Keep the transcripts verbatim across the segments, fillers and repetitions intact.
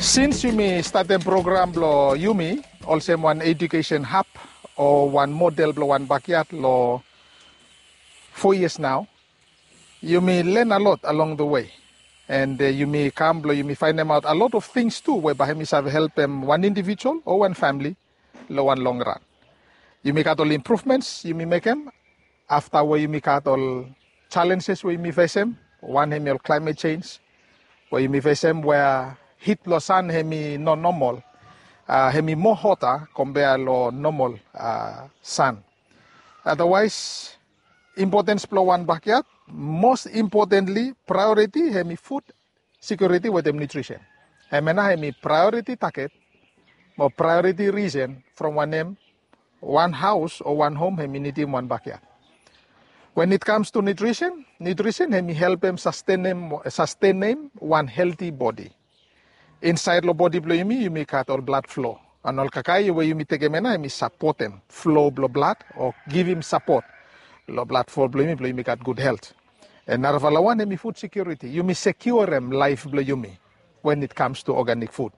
Sins yumi statem program blong yumi olsem wan edukesen hab o wan model blong wan bakyat long fo yias nao, yumi len a lot along the way. And uh, yumi kam blong yumi fainemaot a lot of things tu we bae hem i save helpem wan individual o wan famili long wan long ran. Yumi gat ol improvements yumi mekem afta we yumi gat ol challenges we yumi fesem. Wan hem i ol climate change we yumi fesem, we hit blong san hem i no normal, uh, hem i moa hota kompea long normal uh, san. Otherwise, importance blong wan bakyat, most importantly, priority hem i food security wetem nutrition. Hemia nao hem i priority target mo priority reason from wanem wan haos o wan hom hem i nidim wan bakyat. When it comes to nutrition, nutrition hem i helpem sustenem, sustenem wan healthy body. Insaed long bodi blong yumi, yumi gat ol blad flo. And ol kakae we yumi tekem ya nao hem i sapotem flo blong blad o givim sapot long blad flo blong yumi blong yumi gat gud helt. And narafala wan hem i food security. Yumi sekiorem laef blong yumi when it comes to organic food.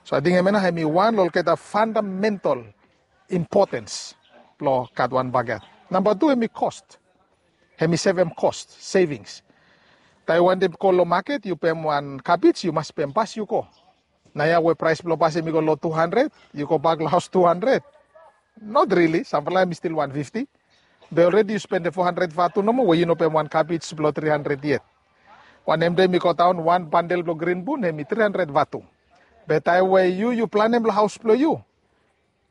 So ating hemia nao hem i wan long olgeta fundamental importance blong gat wan bakyat. Namba tu hem i cost. Hem i sevem cost, savings. Taem yu wantem go long maket yu pem wan kabej yu mas pem pas yu go. Naoia we praes blong pas hem i go long tu handred, yu gobak long haos tu handred. Not really, samfala hem i stil wan fifti. Be already yu spendem fo handred vatu nomo we yu no pem wan kabej blong tri handred yet. Wanem de hem i godaon wan bandel blong grin bun hem i tri handred vatu. Be taem we yu yu planem long haos blong yu,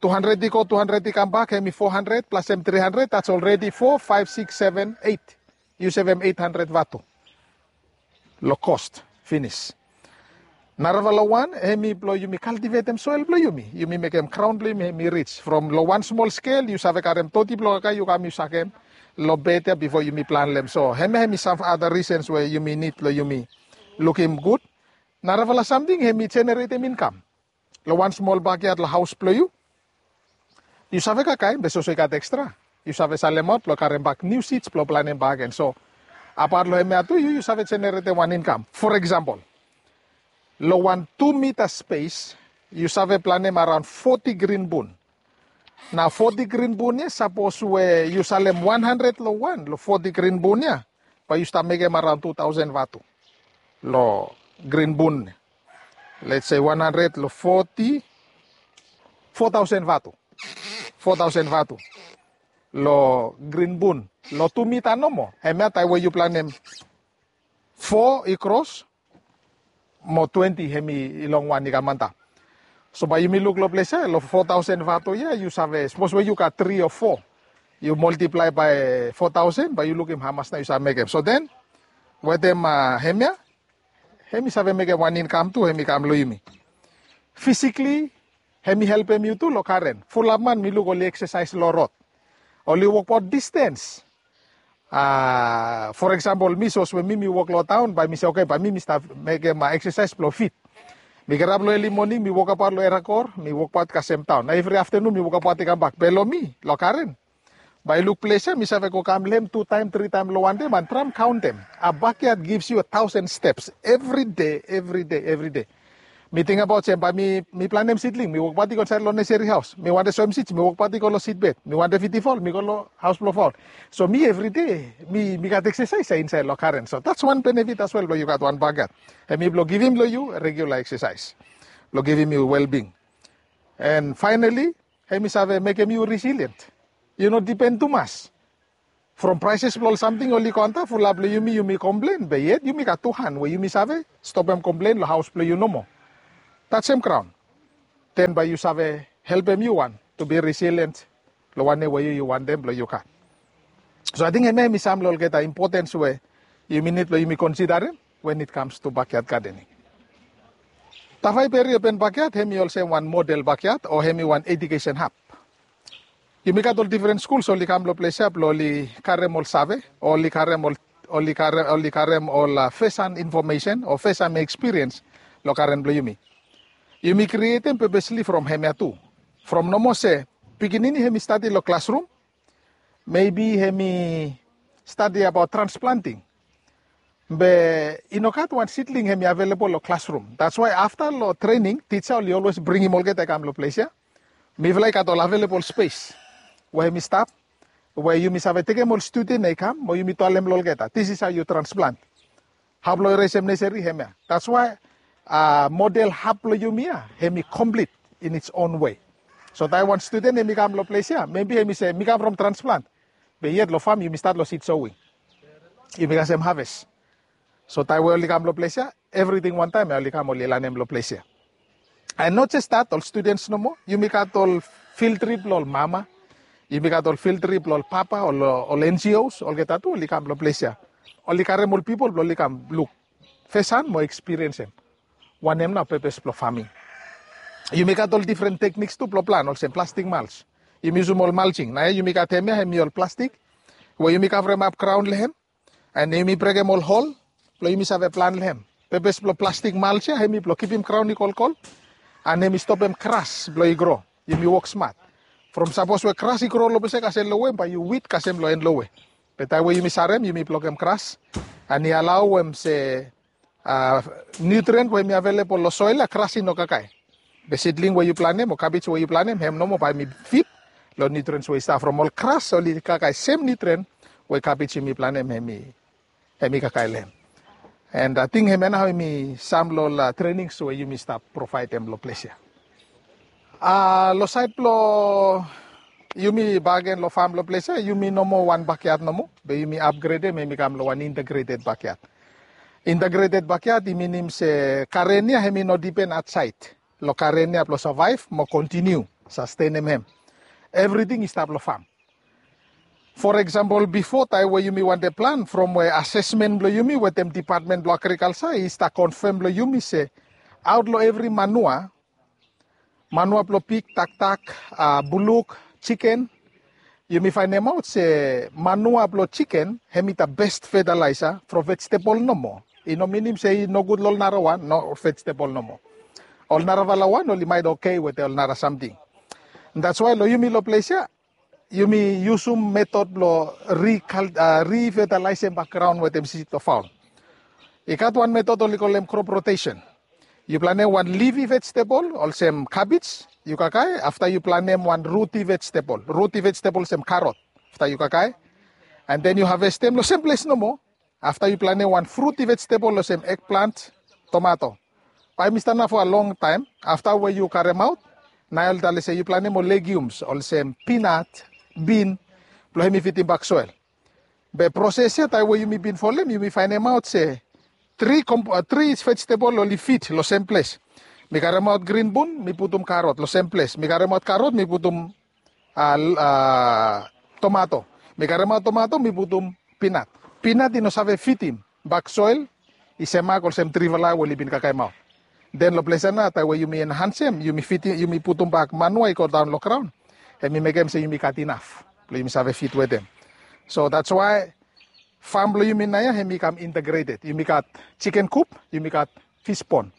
tu handred i go, tu handred i kambak, hem i fo handred plasem tri handred, that's already fo, faef, sikis, seven, eit. Yu sevem eit handred vatu long cost finis. Narafala wan hem i blong yumi kaltivetem soel blong yumi. Yumi mekem graon blong yumi hem i rij. From long wan smol skel yu save karem toti blong kakae yu kam yu sakem long bed ya bifo yumi planem. So hemia hem i sam other reasons we yumi nid blong yumi lukim gud. Narafala samting hem i jeneretem inkam. Long wan smol bakyat long haos blong yu, yu save kakae be soso i gat ekstra, yu save salemaot blong karem bak niu sids blong planem bak agen. So apat long hemia tu yu yu save jeneretem wan inkam. For eksempel, long wan tu mita spes yu save planem araon foti grin bun. Nao foti grin bun ya sapos we yu salem wan handred long wan long foti grin bun ya, bae yu stap mekem araon tu taosen vatu long grin bun. Let's say wan handred long foti, fo taosen vatu. Fo taosen vatu long grin bun long tu mita nomo. Hemia taem we yu planem fo i kros mo twenti hem i long wan i kam antap. So bae yumi luk long ples ya long fo taosen vatu ya yu save, sapos we yu gat tri o fo, yu moltiplae bae fo taosen bae yu lukim hamas nao yu save mekem. So then wetem hemia hem i save mekem wan inkam tu hem i kam long yumi. Fisikli hem i helpem yu tu long karen. Fulap man mi luk oli eksesaes long rod, oli wokbaot distens. For eksempel mi, sapos we mi mi wok long taon bae mi se oke bae mi mi stap mekem eksesaes blong fit. Mi kirap long eli moning mi wokabaot long erakor mi wokbaot kasem taon, na evri aftenun mi wokabaot i kambak. Be long mi long karen bae i luk ples ya mi save go kam long hem tu taem tri taem long wan dei man traem kaontem. A bakyat gives yu a taosen steps evri dei, evri dei, evri dei. Mi tingabaot se bae mi planem sidling mi wokbaot i go insaed long neseri haos. Mi wantem soem sids mi wokbaot i go long sidbed. Mi wantem fiti faol mi go long haos blong faol. So mi evri dei mi gat eksesaes ya insaed long karen. So that's wan benefit as well blong yu gat wan bakyat. Hem i blong givim long yu regula eksesaes blong givim yu welbing. And finally, hem i save mekem yu resilient. Yu no dipen tumas. From praeses blong ol samting oli go antap, fulap long yumi yumi komplen, be yet yumi gat tu han we yumi save stopem komplen long haos blong yu nomo. Tajem graon. Den bae yu save helpem yu wan tu bi resilient long wanem we yu yu wantem blong yu gat. So ating hemia hem i sam long olgeta impotens we yumi nid blong yumi konsidarem when it comes to bakyat gadening. Tafai Peri Open Bakyat hem i olsem wan model bakyat o hem i wan edukesen hab. Yumi gat ol difren skuls oli kam long ples ya blong oli karem ol save, oli karem ol, oli karem, oli karem ol fesan infomesen o fesan ekspiriens long karen blong yumi. Yumi krietem pepesli from hemia tu. From nomo se pikinini hem i stadi long klasrum, mebi hem i stadi abaot transplanting. Be i no gat wan sidling hemi available lo classroom. That's why after lo training, teacher oli always bringim olgeta i kam lo ples ia. Mifala i gat ol available space we hemi stap, we yumi save tekem ol student ia i kam mo yumi talem lo olgeta, this is how you transplant. Hap lo eresem nursery hemia. That's why uh, model hap lo yumi ia hemi complete in its own way. So taem wan student hemi kam lo ples ia, maybe hemi se mi kam from transplant. Be yet lo farm yumi start lo seed sowing. Yumi kasem harvest. So taem we oli kam lo ples ia, everything wan taem ia oli kam oli lanem lo ples ia. And not just that, ol students nomo, yumi gat ol field trip lo ol mama, yumi gat ol field trip lo ol papa, ol, ol N G Os, olgeta tu oli kam lo ples ia. Oli karem ol pipol blo oli kam luk first hand mo experience em. Wanem nao purpose blo farming. Yumi gat ol different techniques tu blo plan, olsem plastic mulch. Yumi yusum ol mulching. Naoia yumi gat hemia, hemi ol plastic we yumi kavremap graon lo hem. And yumi brekem ol hol blo yumi save plan lo hem. Purpose blo plastic mulch ia hemi blo kipim graon i kolkol. And hemi stopem gras blo i gro. Yumi wok smat. From sapos we gras i gro lo ples ia kasem lowe, bae yu wid kasem lo en lowe. Be taem we yumi sarem, yumi blokem gras. And i alaoem se uh, nutrient we hemi available lo soil ia gras i no kakae. Be sidling we yu planem o cabbage we yu planem, hem nomo bae hemi fit lo nutrients we i stap from ol gras, oli kakae sem nutrient we cabbage yumi planem hemi, hemi kakae lo hem. And ating hemia nao hemi sam lo ol uh, trainings we yumi stap provaedem lo ples ia. Uh, lo saed blo yumi bakegen lo farm lo ples ia, yumi no moa wan backyard nomo, be yumi upgradem hemi kam lo wan integrated backyard. Integrated backyard i minim se garen ia hemi no dipen aotsaed. Lo garen ia blo survive mo continue sustainem hem. Everything i stap lo farm. For example, bifo taem we yumi wantem plan, from we assessment blo yumi wetem Department blo Agriculture i stap confirm lo yumi se aot lo evri manua, manua blo pig, taktak, uh, buluk, chicken, yumi faenemaot se manua blo chicken hemi the best fertilizer from vegetable nomo. I no minim se i nogud lo ol narawan, no, vegetable nomo. Ol naravalawan oli maet okay wetem ol nara samting. That's why lo yumi lo ples ia, yumi yusum method blo recultivate, uh, refertilize bak graon wetem seed of fowl. I gat wan method oli kolem crop rotation. Yu planem wan leafy vegetable olsem cabbage, yu kakae, afta yu planem wan rooty vegetable. Rooty vegetable olsem carrot, afta yu kakae. And then yu harvestem lo sem ples nomo. Afta yu planem wan fruity vegetable olsem eggplant, tomato. Bae hemi stap nao for a long time. Afta we yu karemaot, nao oli talem se yu planem ol legumes olsem peanut, bean, blo hemi fitim bak soil. Be proses ia taem we yumi bin folem, yumi faenemaot se tri, tri vegetable oli fit lo sem ples. Mi karemaot green bean, mi putum carrot lo sem ples. Mi karemaot carrot, mi putum tomato. Mi karemaot tomato, mi putum peanut. Peanut i no save fitim bak soil, i semak olsem trifala we oli bin kakaemaot. Den lo ples ia nao taem we yumi enhancem, yumi putum bak manua i go daon lo graon, hemi mekem se yumi gat inaf blo yumi save fit wetem. So that's why farm blo yumi naoia hemi kam integrated. Yumi gat chicken coop, yumi gat fish pond.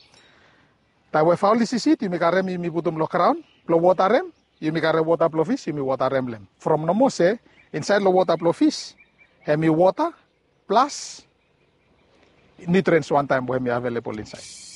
Taem we faol i sisit, yumi karem, yumi putum lo graon blo wotarem. Yumi karem wota blo fish, yumi wotarem lo hem. From nomo se insaed lo wota blo fish hemi wota plus nutrients wantaem we hemi available insaed.